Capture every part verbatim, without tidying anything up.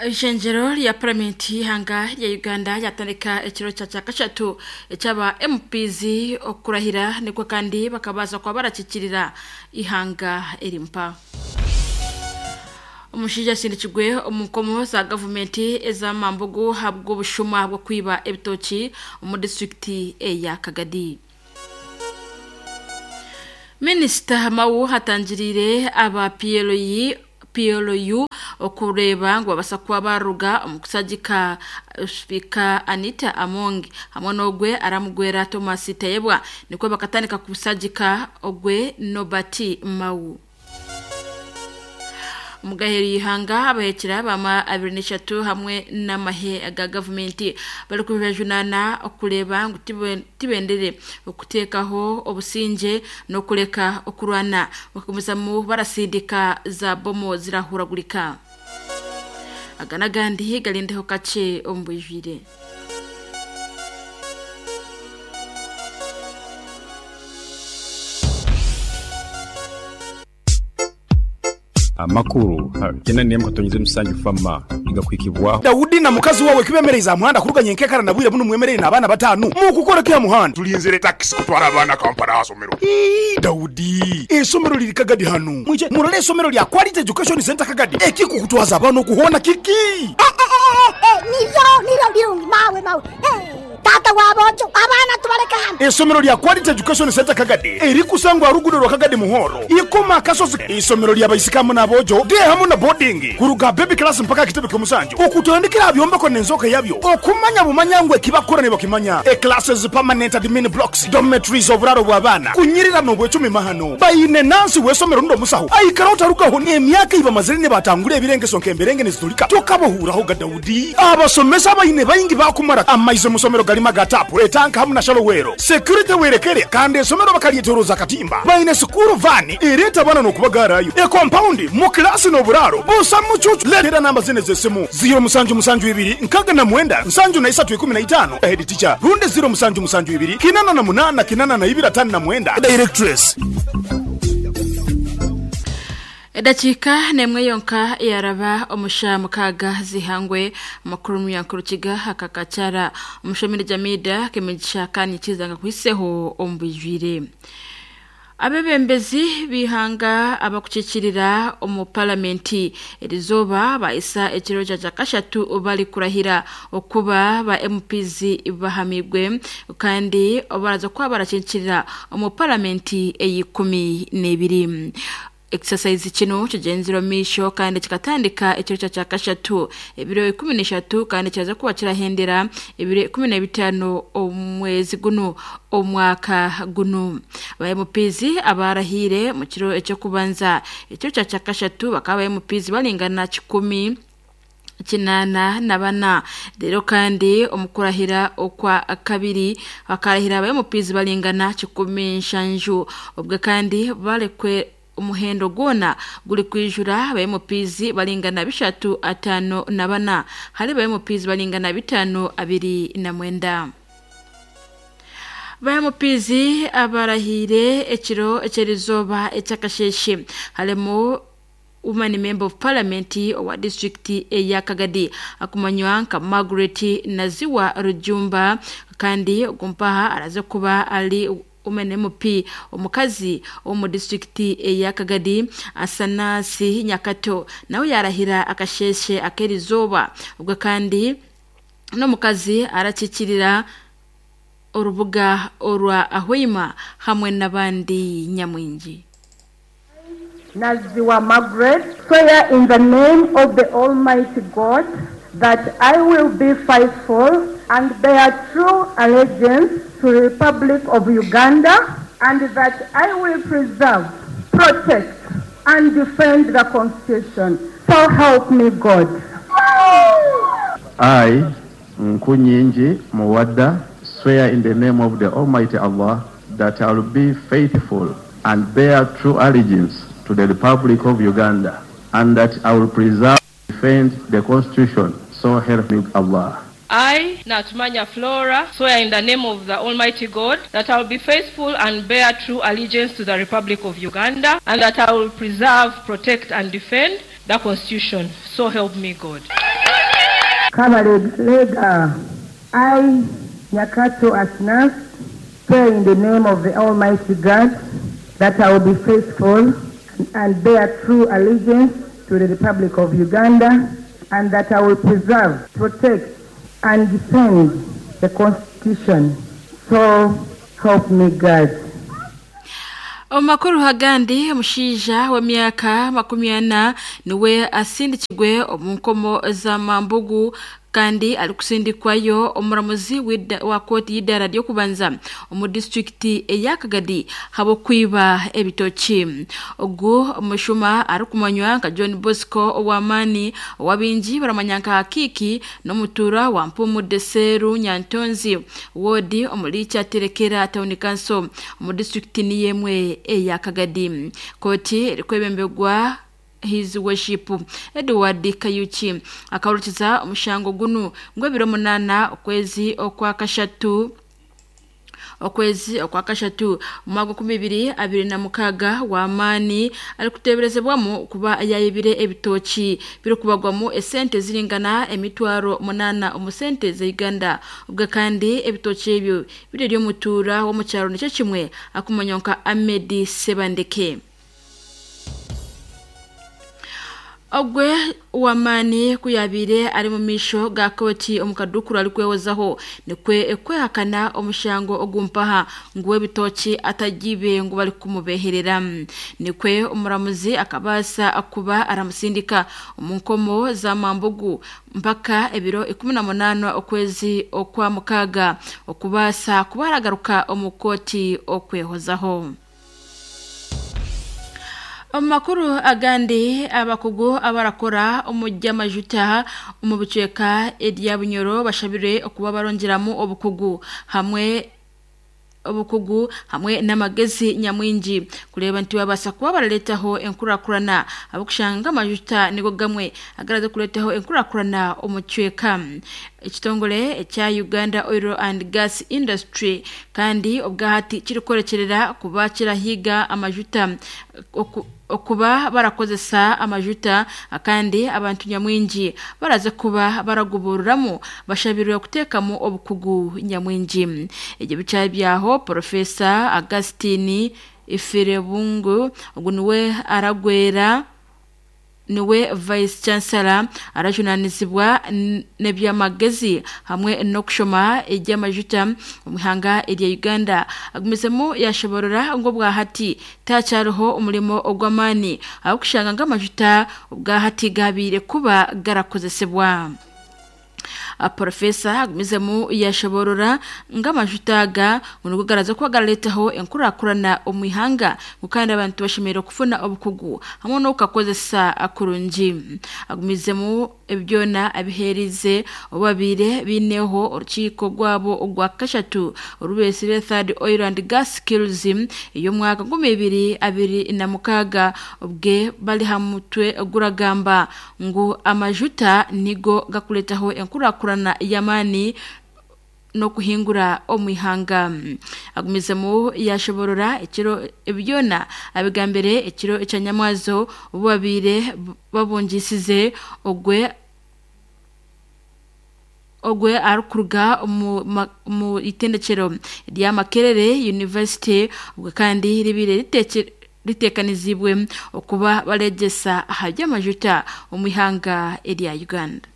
Ishengero lya paramenti y'ihanga rya Uganda ryatandika ekiro kya kyakashatu ekyaba M Ps okurahira nikwo kandi bakabaza kuba barakikirira ihanga erimpa. Omushaija asindikirwe omu nkomo za gavumenti ez'amambugu habw'obushuma bw'okwiba ebitoki omu disitulikiti eya Kagadi. Minisita Mao hatangiriire aba P L U P L U okureeba ngu babasa kuba baruga omu kusagika Speaker Anita Among hamwe n'ogwe aramugwera Thomas Tayebwa nikwo bakatandika kusagika ogwe Norbert Mao. Mugaheri ihanga abahekera bama abiri n'eshatu hamwe n'amahe ga gavumenti bari kubajunana okureba ngu tibendere okuteekaho obusinge n'okureka okurwana bakumizamu barasindika za bomo zirahuragurika. Aga n'agandi garindeho kakye omu bwijwire. Amakuru kena niye mukatonyeze musanju fama igakwikibwa Daudi na mukazi wawe kibemereza muhanda kuruganye nkekara nabwire buno mwemerere nabana batanu mukukora kya muhanda tulinzire taxi kutwara abana Kampala asomero. Ii Daudi esomero liri Kagadi hanu mwije murole esomero lya Quality Education Center Kagadi ekikukutwaza abana okuhona kiki niyo niyo birungi mawe mawe tata wabojo abana tubaleka hano. Esomero lya Quality Education Center Kagadi erikusangwa rugudo rwa Kagadi Muhoro ikoma akasozi. Isomero lya baisikamu nabojo de hamu na boarding kuruga baby class mpaka kitebe kyomusanju okutandikira byombeko nenzoka yabyo okumanya bumanyangwe kibakora ne bakimanya e classes permanent admin blocks dormitories oburaro bw'abana kunyirira no bwecumi mahano bayine nansi wesomero ndo musaho aikara utarukaho ni emyaka iba mazire ne batangure ebirengeso nkemberenge nezitulika tokabohuraho ga Daudi abasomesa bayine bayingi bakumara amaizo musomero galima gatapu etanka hamu na shalowero security werekere kandi esomero bakalietoroza katimba bayine sukuru vani ireta bana no kubagarayo e compound mu class no buraro busa mucucu letera namba zine zesimu zero musanju musanju ibiri nkaga na mwenda nsanju na isatu ikumi na itano head teacher runde zero musanju musanju ibiri kinana na munana kinana na ibiri atano na mwenda directress. Edakika nemwe yonka yaraba omusha mukaga zihangwe amakuru muyankurukiga akakacara omushomere Jamida kemigisha kani kizanga kwiseho ombujwire. Abebembezi bihanga abakukikirira omu palamenti erizoba baisa ekiro kya kashatu bali kurahira okuba ba M Ps bahamigwe kandi baraza kuba barakikirira omu palamenti eyikumi n'ebiri. Exercise kino kigenzero misho kandi kikatandika ekiro kya kashatu ebiro ikumi n'eshatu kandi kiraza kuba kirahendera ebiro ikumi na bitano omwezi guno omwaka guno. Ba M Ps abarahire mu kiro ekyo kubanza ekiro kya kashatu bakaba M Ps balingana kikumi kinana na bana rero kandi omukurahira okwa kabiri bakarahira ba M Ps balingana kikumi nshanju ubwo kandi balekwe umuhendo gona guri kwijura ba M Ps balingana bishatu atano na bana hari ba M Ps balingana bitano abiri na mwenda. Ba M Ps abarahire ekiro ekyerizoba ekyakasheshe harimo woman member of parliament wa district eya Kagadi akumanywa nka Margaret Naziwa Rujumba kandi gumpaha araze kuba ali woman M P omukazi omu district eya Kagadi Asanasi Nyakato nawe yarahira akasheshe akerizoba ubwo kandi no mukazi arakikirira urubuga orwa Ahwima hamwe n'abandi nyamwingi. Naziwa Margaret, swear in the name of the Almighty God that I will be faithful and bear true allegiance to the Republic of Uganda and that I will preserve, protect, and defend the Constitution. So help me God. I, Nkunyinji Muwada, swear in the name of the Almighty Allah that I will be faithful and bear true allegiance to the Republic of Uganda and that I will preserve and defend the Constitution. So help me Allah. I, Natumanya Flora, swear in the name of the Almighty God that I will be faithful and bear true allegiance to the Republic of Uganda and that I will preserve, protect, and defend the Constitution. So help me God. Kabalega, I, Nyakato Asnas, swear in the name of the Almighty God that I will be faithful and bear true allegiance to the Republic of Uganda and that I will preserve, protect, and defend the Constitution. So help me God. Omakuru hagandi omushaija w'emyaka makumi ana niwe asindikirwe omu nkomo za Mambugu kandi arikusindikwayo omuramuzi wa kooti y'eidaara ry'okubanza omu disitulikiti eya Kagadi habw'okwiba ebitoki. Ogu omushuma arikumanywa nka John Bosco ow'amaani ow'abaingi baramanya nka Hakiki n'omutuura wa Mpumu Deseru Nyantonzi woodi omuri Kyaterekera Town Council omu disitulikiti niyo emwe eya Kagadi. Kooti erikwebemberwa His Worship Edward Kayuki akahurikiza omushango gunu ngu ebiro munaana okwezi okwa kashatu okwezi okwa kashatu omwaka nkumi ibiri abiri na mukaaga w'amaani arikuteeberezebwamu kuba yayibire ebitoki birikubagwamu esente ziringana emitwaro munaana omu sente za Uganda. Obwe kandi ebitoki ebyo biri ery'omutuura w'omu kyaro nikyo kimwe akumanywa nka Ahmed Sebandeke. Ogwe wamani kuyabire ari mu misho ga koti omukadukuru ari kwewozaho nikwe kwehakana omushango ogumpaha nguwe ebitoki atagibe ngu bari kumubeherera. Nikwe omuramuzi akabasa akuba aramusindika omu nkomo za Mambugu mpaka ebiro ikumi na munaana okwezi okwa mukaaga okubasa kuba aragaruka omu koti okwehozaho. Omakuru agandi abakugu abarakora omujja majuta omu bicweka erya Bunyoro bashabire okuba barongeramu obukugu hamwe obukugu hamwe n'amagezi nyamwingi kureba nti babasa kuba baraletaho enkurakurana abakushanga amajuta nigo gamwe agaraza kuletaho enkurakurana omu cweka. Ekitongole ekya Uganda Oil and Gas Industry kandi obwahati kirikorekerera kuba kirahiga amajuta oku okuba barakozesa amajuta kandi abantu nyamwingi baraze kuba baragubururamu bashabirwe kuteekamu obukugu nyamwingi. Ebyo bicaye byaho Professor Augustine Ifirebungu ogu niwe aragwera niwe Vice Chancellor arajunanizibwa n'ebyamagezi hamwe n'okushoma eby'amajuta omu ihanga erya Uganda agumizemu yashoborora ngo bwahati takyariho omurimo ogw'amaani aho kushanga ng'amajuta obwahati gabiire kuba garakozesebwa. Professor agumizemu yashoborora ng'amajuta aga ngu garaza kuba garaletaho enkurakurana omu ihanga kandi abantu bashemereire kufuna obukugu hamwe n'okukakozesa kurungi. Agumizemu ebyona abiheerize obabiire biineho orukiiko rwabo ogwa kashatu orubesire Third Oil and Gas Skills ey'omwaka nkumi ibiri abiri na mukaaga obwe bari ha mutwe guragamba ngu amajuta nigo gakuretaho enkurakurana y'amaani n'okuhingura omu ihanga. Agumizemu yashoborora ekiro ebyona abigambire ekiro ekyanyamwazo obu babiire babungisize ogwe ogwe arikuruga omu mu itendekero rya Makerere University ubwo kandi ribire ritekere ritekanizibwe okuba baregesa aha by'amajuta omu ihanga erya Uganda.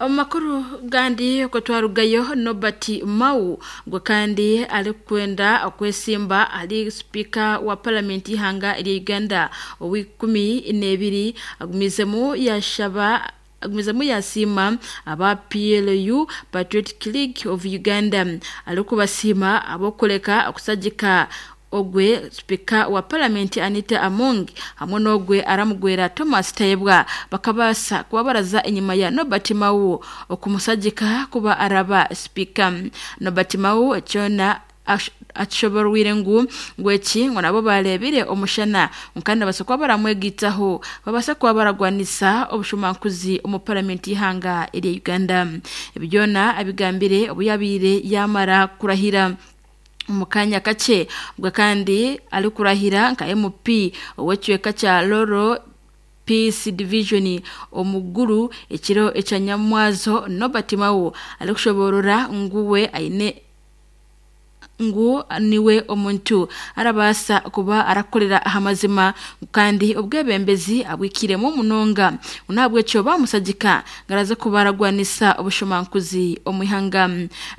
Omakuru gandi ko twarugayo Norbert Mao ngo kandi ari kwenda okwesimba ari speaker wa parliament ihanga erya Uganda ow'ikumi n'ebiri agumizemu yashaba agumizemu yasiima aba P L U Patriotic League of Uganda arikubasiima abokuleka okusagika ogwe speaker wa parliament Anita Among hamwe n'ogwe aramugwera Thomas Tayebwa bakabasa kuba baraza enyuma ya Norbert Mao okumusagika kuba araba speaker. Norbert Mao ekyona akishoborwire ngu ngweki ngo nabo barebire omushana kandi basa kuba baramwegitaho babasa kuba baragwanisa obushumankuzi omu parliament ihanga erya Uganda. Ebyona abigambire obuyabire yamara kurahira mu kanya kace ubwo kandi ari kurahira nka M P ow'ekicweka kya Loro Peace Division omuguru ekiro ekyanyamwazo Norbert Mao alikushoborora nguwe aine ngu niwe omuntu arabasa kuba arakorera ahamazima kandi obwebembezi abwikiremo munonga unabwekyo bamusagika ngaraze kubaragwanisa obushomankuzi omwihanga.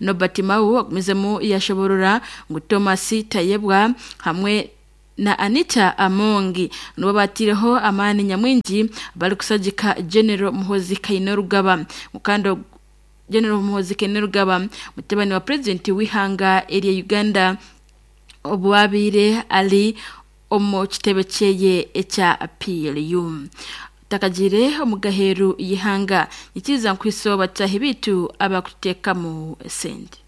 Norbert Mao agumizemu yashoborora ngu Thomas Tayebwa hamwe na Anita Amongi nibo batireho amani nyamwingi bari kusagika General Muhoozi Kainerugaba mukando General Muhoozi Kainerugaba mutabani wa President w'ihanga erya Uganda obwabire ali omu kitebe kyeye ekya P L U. Takagire omugaheru y'ihanga nikiza nkwiso batahi bitu abakuteekamu sente.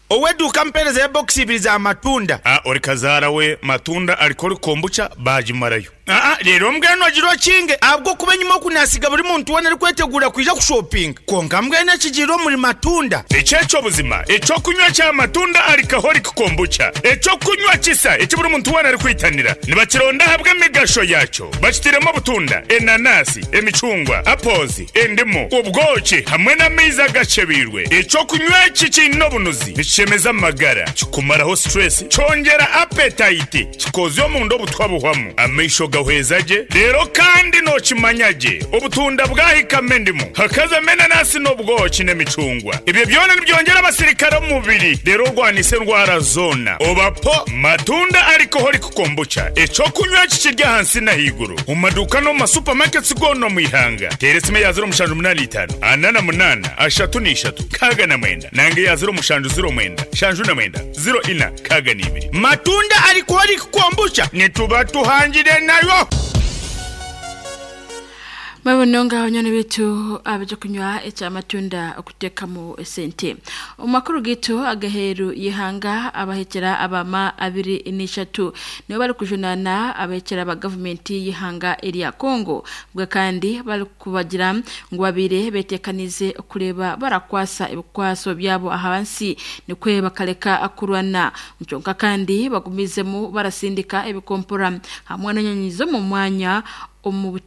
Oweduka mpereza ya box ibiri za matunda. Ah, ori kazara we matunda alikori kombucha bajimarayo. Ah, rero mbweno agiro kinge abwo kuba nyuma kunasiga buri muntu wena ari kwetegura kwija kushopping. Konka mbwene kigiro muri matunda. Echecho buzima, echo kunywa cha matunda alcoholic kombucha. Echo kunywa kisa eki buri muntu wena ari kwitanira. Nibakironda habwe migasho yacho. Bakitiremo butunda, enanasi, emicungwa, apples, endimu, ubwoki hamwe n'amaizi agacebirwe. Echo kunywa iki kino bunuzi. Nikishemeza amagara, kikumaraho stress, cyongera appetite, kikozyo mu ndo butwabuhwamu. Amaisho gahwezaje rero kandi nokimanyaje obutunda bwahikame ndimu hakaza menanasi n'obwoki n'emicungwa ibyo byona nibyongera abasirikare mu mubiri rero rwanise ndwara zona obapo matunda alcoholic kombucha eco kunywa kikirya hansi na higuru mu maduka no mu supermarkets gono mu ihanga teresime ya zero mushanju munani itanu anana munana ashatu n'ishatu kaga na mwenda nange ya zero mushanju zero mwenda shanju na mwenda zero ina kaga n'ibiri matunda alcoholic kombucha nituba tuhangire nayo. Mabononga honyane bitu abaje kunywa echa matunda okutekamo esente. Omakuru gitu agaheru yihanga abahekera abama abiri n'ishatu nibo bari kujunana abahekera ba government yihanga eri ya Congo bwa kandi bari kubagira ngo babire betekanize kureba barakwasa ibikwaso byabo ahansi nikwe bakaleka akurwana ncyonka kandi bagumizemo barasindika ebikompora hamwe n'anyanyizo mu mwanya omu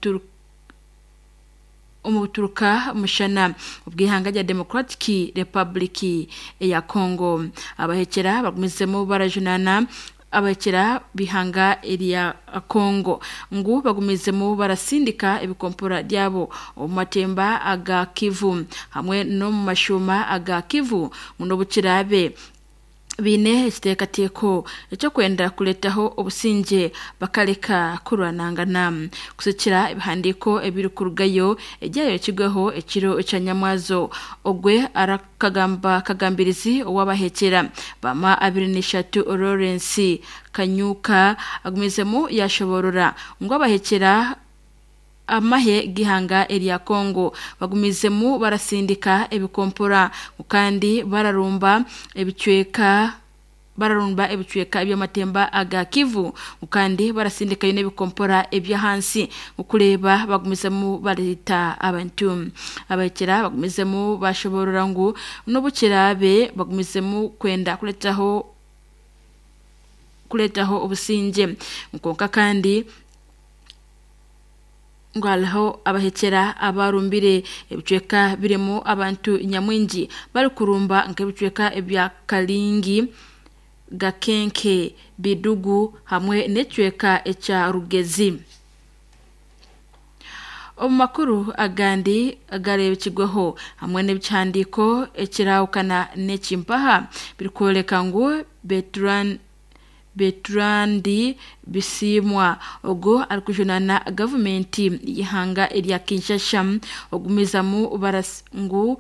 omuturuka mushana ubwihanga rya Democratic Republic ya Congo. Abahekera bagumizemo barajunana abahekera bihanga eri ya Congo ngu bagumizemo barasindika ebikompora byabo mu matemba aga Kivu hamwe no mu mashuma aga Kivu muno bukirabe bine ekiteekateeko ekyo kwenda kuletaho obusinge bakaleka kurwanangana kusikira ebihandiiko ebiri kurugayo ejyayo ekigweho ekiro ekyanyamwazo ogwe arakagamba kagambirizi owabahekera bama abiri n'ishatu Lawrence Kanyuka agumizemu yashoborora ngo abahekera amahe gihanga eri ya Congo bagumizemu barasindika ebikompora kandi bararumba ebicweka bararumba ebicweka eby'amatemba aga Kivu kandi barasindika yone ebikompora ebya hansi ukureba bagumizemu barita abantu abakira bagumizemu bashoborora ngu n'ubukirabe bagumizemu kwenda kuletaho kuletaho obusinge nkonka kandi ngwalaho abahekera abarumbire ebicweka birimo abantu nyamwingi bari kurumba nk'ebicweka ebya Kalingi Gakenke Bidugu hamwe n'ecweka eca Rugezi. Omakuru agandi agarebekirweho hamwe n'ebihandiko ekirawukana n'ekimpaha birikwoleka ngu Bertrand Bertrandi Bisimwa ogo alikujunana government yihanga erya Kinshasa ogumizamu baras ngu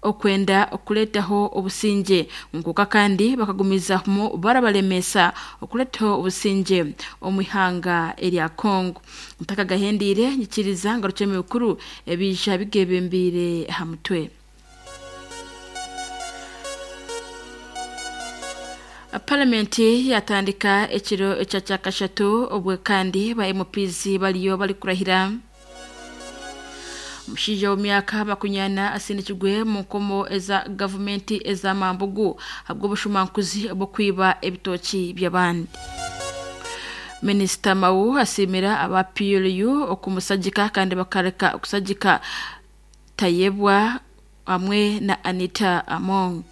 okwenda okuletaho obusinge nkuka kandi bakagumizamu barabalemesa okuletaho obusinge omwihanga erya Congo. Mutaka gahendire nyikiriza ngaruke mukuru ebija bigebembire hamutwe. Parliamenti yatandika ekiro ekyakashatu obwe kandi ba M Ps baliyo bali kurahira. Mushinja w'emyaka makunyana asindikirwe mu nkomo eza gavumenti ez'amambugu habwo bushumankuzi bwo kwiba ebitoki by'abandi. Minisita Mao asimira aba P L U okumusagika kandi bakareka okusagika Tayebwa hamwe na Anita Among.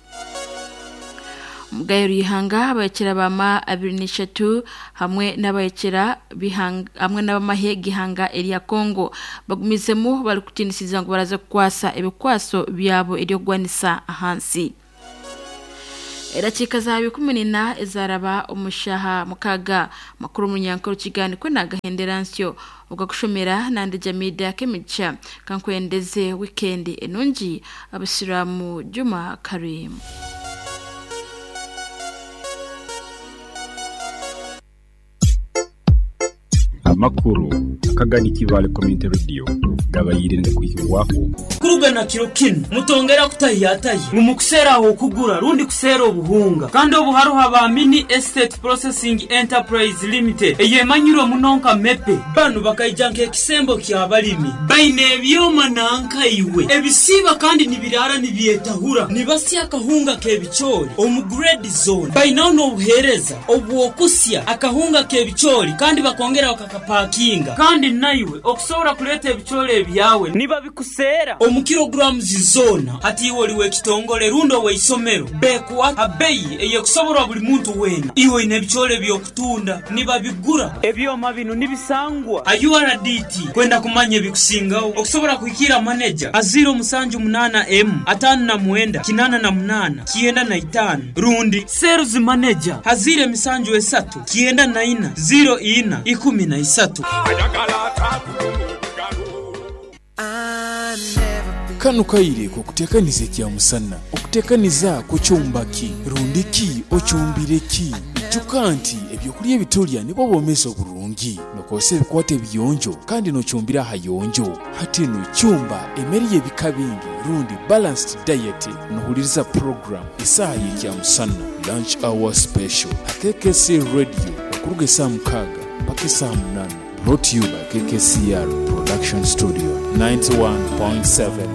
Mugayo Ruhanga abayekera bama abiri n'eshatu hamwe n'abayekera bihanga hamwe n'abamahe gihanga erya Kongo bagumizemu bari kutinisiza ngo baraza kukwasa ebikwaso byabo eryogwanisa ahansi. Erachika za bikumi nina ezaraba omushaha mukaga makuru munyankoro kigani kwe nagahendera nsyo ugakushomera nandi Jamida Kemicha kankwendeze weekend enungi abasiramu Juma Karim. Amakuru akagani kibale community radio gabayirinde kuhirwaho kurugana kiro kino mutongera kutayataye mumukusera aho kugura rundi kusera obuhunga kandi obuharuha ba Mini Estate Processing Enterprise Limited eyemanyiro munonka mepe banu bakayijanka ekisembo kya balimi baine ebyoma nanka iwe ebisiba kandi nibirara nibyetahura nibasya akahunga kebichori omu grade zone bainaho n'obuhereza obwokusya akahunga kebichori kandi bakongera bakakapakinga kandi naiwe okusobola kuleta ebichori ebyawe niba bikusera omu kilograms zona hati iwe oliwe ekitongole rundo weisomero bekuwa abeyi eyekusoborwa buli muntu wena iwe ine ebichori byokutunda niba bigura ebyoma bino nibisangwa a U R D T kwenda kumanya ebikusingaho okusobola kuhikira manager aziro musanju munana m atano na mwenda kinana na munana kienda na itano rundi sales manager hazire misanju esatu kienda na ina zero ina ikumi na isatu. Kano kaire ko kutekaniza kya musana okutekaniza kucyumbaki rundiki ocyumbireki ijuka nti ebyokulya ebitulya nibo bomeza oburungi nokose ebikwate biyonjo kandi nocyumbira hayonjo hati no cyumba emeri y'ebika bingi rundi balanced diet nohuliriza program isaha y'ekya musana lunch hour special K K C radio okuruga esaa mukaaga mpaka esaa munana. Brought to you by K K C R Production Studio ninety-one point seven.